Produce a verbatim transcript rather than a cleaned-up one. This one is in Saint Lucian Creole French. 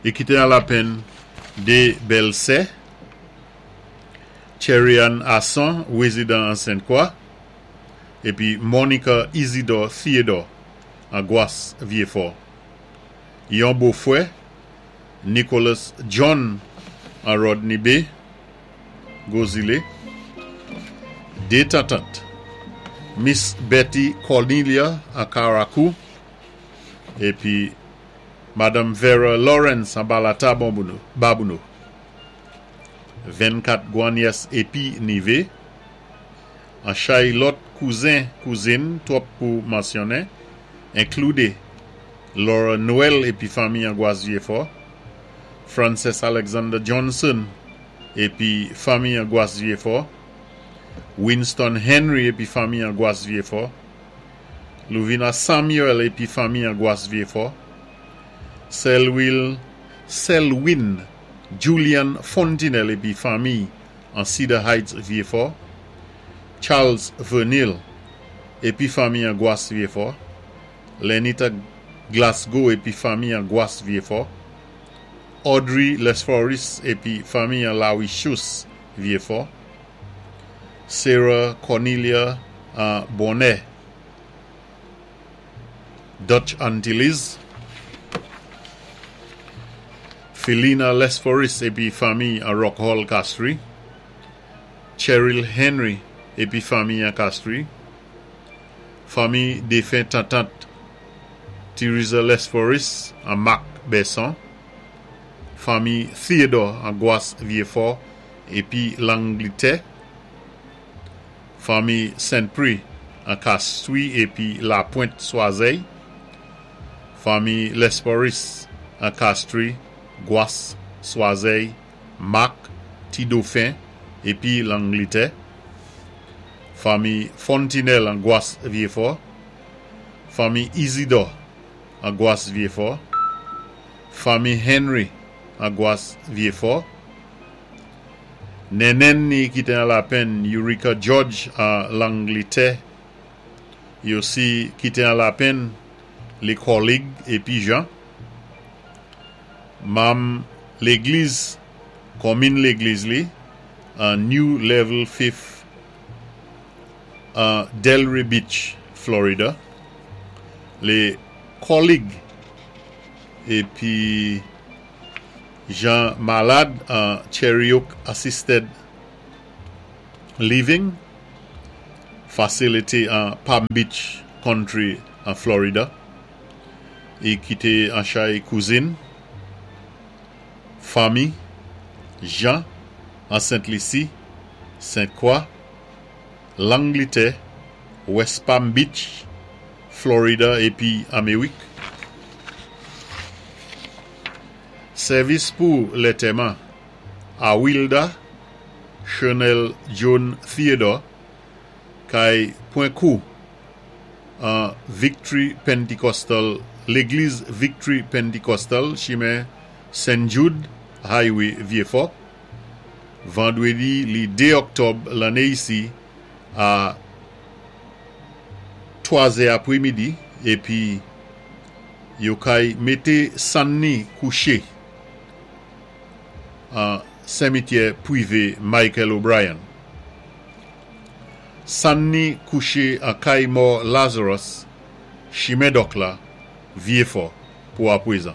I kité an lapenn dé bèlsè, Cherian Asson, wézidan an Sainte-Croix, épi Monica Isidore Theodore an Gwas Vieux-Fort. Yon bofwè, Nicholas John an Rodney Bay, Gros Islet. Dé tantant, Miss Betty Cornelia an Carriacou, épi Madame Vera Lawrence an Balata Babonneau. vennkat gwannyès épi nivé, an chay lòt kouzen kouzin twòp pou mansyonnen, enkloudé Laura Noël épi fanmi an Gwas Vieux-Fort, Frances Alexander Johnson épi fanmi an Gwas Vieux-Fort, Winston Henry épi fanmi an Gwas Vieux-Fort, Louvina Samuel épi fanmi an Gwas Vieux-Fort, Selwyn, Selwyn Julian Fontinelle épi fanmi an Cedar Heights Vieux-Fort, Charles Vernil épi fanmi an Gwas Vieux-Fort, Lenita Glasgow épi fanmi an Gwas Vieux-Fort, Audrey Lesforis épi fanmi an Lawi Chous Vieux-Fort, Sarah Cornelia an Bonnet, Dutch Antilles, Felina Lesforis épi fanmi an Rock Hall Castries, Cheryl Henry épi fanmi an Castries, fanmi défen tantant Theresa Lesforis an Marc Besson, fanmi Theodore an Gwas Vieux-Fort épi Langlitè, fanmi Saint-Prix an Castries épi La Pointe Soiseille, fanmi Lesforis an Castries, Gwas, Soiseille, Marc, Ti-Dauphin épi Langlitè, fanmi Fontinelle an Gwas Vieux-Fort, fanmi Isidore an Gwas Vieux-Fort, fanmi Henry an Gwas Vieux-Fort, Nenen ni ki té an lapenn Eureka George an Langlitè, i osi kité an lapenn lé kòlig épi Jean, manm légliz, konmin légliz li, an New Level Faith an Delray Beach, Florida, lé kòlig épi Jean Malade an Cherry Oak Assisted Living Facility an Palm Beach Country an Florida. I kité an chay kouzin, fanmi, Jean an Sainte-Lucie, Sainte-Croix, Langlitè, West Palm Beach, Florida épi Améwik. Sèvis pou lantèman Awilda Chanel John Theodore kay pwan kou an Victory Pentecostal, légliz Victory Pentecostal, chimen Saint Jude Highway Vieux-Fort, vandwédi li dé òktòb lanné isi a twa zè apwémidi épi yo kay mété sann ni kouché an simityè pwivé Michael O'Brien. Sann ni kouché an kay mò Lazarus, chimen Dòk la, Vieux-Fort, pou apwézan.